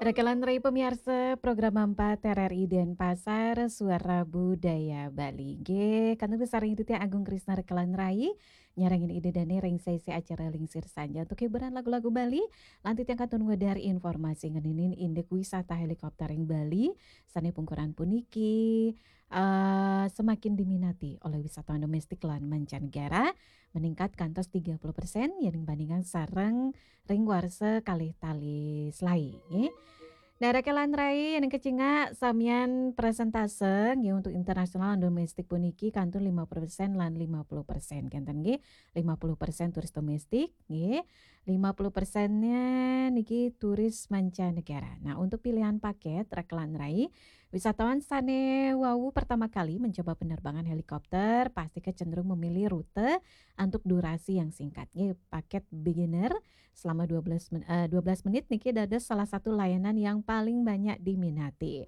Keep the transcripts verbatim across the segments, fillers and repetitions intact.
Rekelan Rai pemiarsa program empat R R I Denpasar, Suara Budaya Bali. Nggih, kantun sareng Ida Tiang Agung Krisna Rekelan Rai, nyarengin Ida Dane ring sesi acara Lingsir Sanja untuk hiburan lagu-lagu Bali. Lan titiang kantun ngwedar informasi ngeninin indik wisata helikopter ring Bali, sane pungkuran puniki, eh, semakin diminati oleh wisatawan domestik lan mancanegara, meningkat kantos tiga puluh persen, yen bandingan sareng ring warsa kalih tali selae, nggih. Nah, Rekelan Rai yen kecingak samian persentase, nggih, untuk internasional lan domestik puniki kantun lima puluh persen lan lima puluh persen. Kenten, nggih, lima puluh persen turis domestik, nggih. Lima puluh persennya niki turis mancanegara. Nah, untuk pilihan paket Rekelan Rai, wisatawan sane wau pertama kali mencoba penerbangan helikopter pasti kecenderung memilih rute untuk durasi yang singkat, nggih, paket beginner selama dua belas men-, eh, dua belas menit niki dados salah satu layanan yang paling banyak diminati.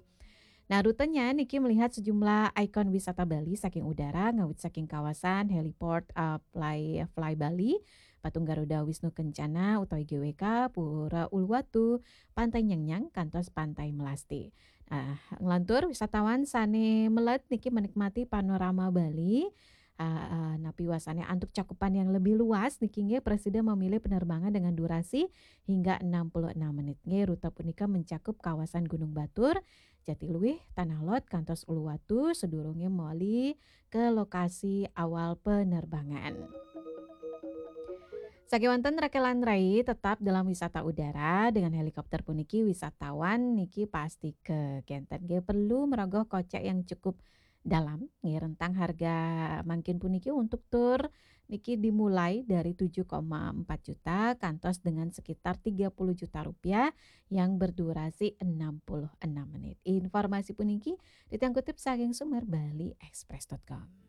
Nah, rutenya niki melihat sejumlah ikon wisata Bali saking udara, ngawit saking kawasan heliport, eh, Fly, Fly Bali, Patung Garuda Wisnu Kencana utawi G W K, Pura Uluwatu, Pantai Nyengnyang, kantos Pantai Melasti. Nah, nglantur wisatawan sane melet niki menikmati panorama Bali, ah, ah, napi wasane antuk cakupan yang lebih luas niki nggih, prasida memilih penerbangan dengan durasi hingga enam puluh enam menit. Nggih, rute punika mencakup kawasan Gunung Batur, Jatiluwih, Tanah Lot, kantos Uluwatu, sedurunge moli ke lokasi awal penerbangan. Sakewanten Rekelan Rai tetap dalam wisata udara dengan helikopter puniki, wisatawan niki pasti ke kenten nggih perlu merogoh kocek yang cukup dalam, nggih, rentang harga mangkin puniki untuk tur niki dimulai dari tujuh koma empat juta kantos dengan sekitar tiga puluh juta rupiah yang berdurasi enam puluh enam menit. Informasi puniki titiang kutip saking sumber bali express dot com.